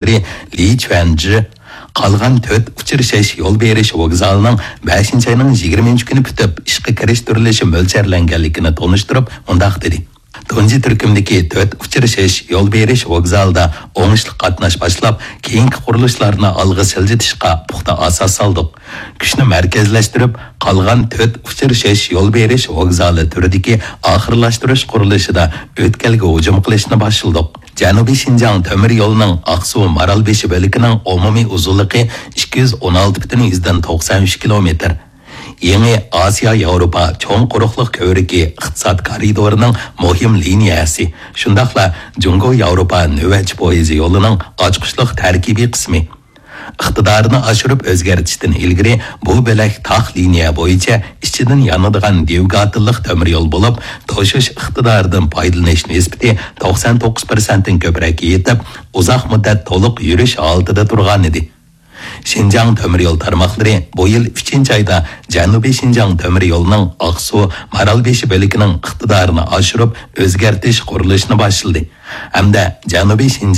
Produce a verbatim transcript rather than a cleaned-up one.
لى چۈەنجى قالغان تۆت ئۇچرىشىش يول بېرىش ۋوگزالىنىڭ بەشىنچى ئاينىڭ يىگىرمىنچى كۈنى پۈتۈپ، ئىشقا كىرىشتۈرۈلۈشى مۆلچەرلەنگەنلىكىنى تونۇشتۇرۇپ، مۇنداق دېدى: تۇنجى تۈركۈمدىكى تۆت ئۇچرىشىش يول بېرىش ۋوگزالىدا ئوڭۇشلۇق قاتناش باشلاپ، كېيىنكى قۇرۇلۇشلارنى ئالغا سىلجىتىشقا پۇختا ئاساس سالدۇق. كۈچنى مەركەزلەشتۈرۈپ، قالغان تۆت ئۇچرىشىش يول بېرىش ۋوگزالى تۈرىدىكى ئاخىرلاشتۇرۇش قۇرۇلۇشىدا ئۆتكەلگە ھۇجۇم قىلىشنى باشلىدۇق. جەنۇبىي شىنجاڭ تۆمۈر يولىنىڭ ئاقسۇ مارالبېشى بۆلىكىنىڭ ئومۇمىي ئۇزۇنلۇقى ئىككى يۈز ئون ئالتە پۈتۈن يۈزدىن توقسان ئۈچ كىلومېتىر. يېڭى ئاسىيا ياۋروپا چوڭ قۇرۇقلۇق كۆۋرۈكى ئىقتىساد كارىدورىنىڭ مۇھىم لىنىيەسى، شۇنداقلا جۇڭگو ياۋروپا نۆۋەتچى پويىزى يولىنىڭ ئاچقۇچلۇق تەركىبىي قىسمى. ئىقتىدارىنى ئاشۇرۇپ ئۆزگەرتىشتىن ئىلگىرى، بۇ بۆلەك تاق لىنىيە بويىچە ئىچىدىن يانىدىغان دۋىگاتېللىق تۆمۈر يول بولۇپ، توشۇش ئىقتىدارىدىن پايدىلىنىش نىسبىتى توقسان توققۇز پىرسەنتتىن كۆپرەك يېتىپ، ئۇزاق مۇددەت تولۇق يۈرۈش ھالىتىدە تۇرغانىدى. شىنجاڭ تۆمۈر يول تارماقلىرى بۇ يىل ئۈچىنچى ئايدا جەنۇبىي شىنجاڭ تۆمۈر يولىنىڭ ئاقسۇ مارالبېشى بۆلىكىنىڭ ئىقتىدارىنى ئاشۇرۇپ ئۆزگەرتىش قۇرۇلۇشىنى باشلىدى ھەمدە جەنۇبىي شىنجاڭ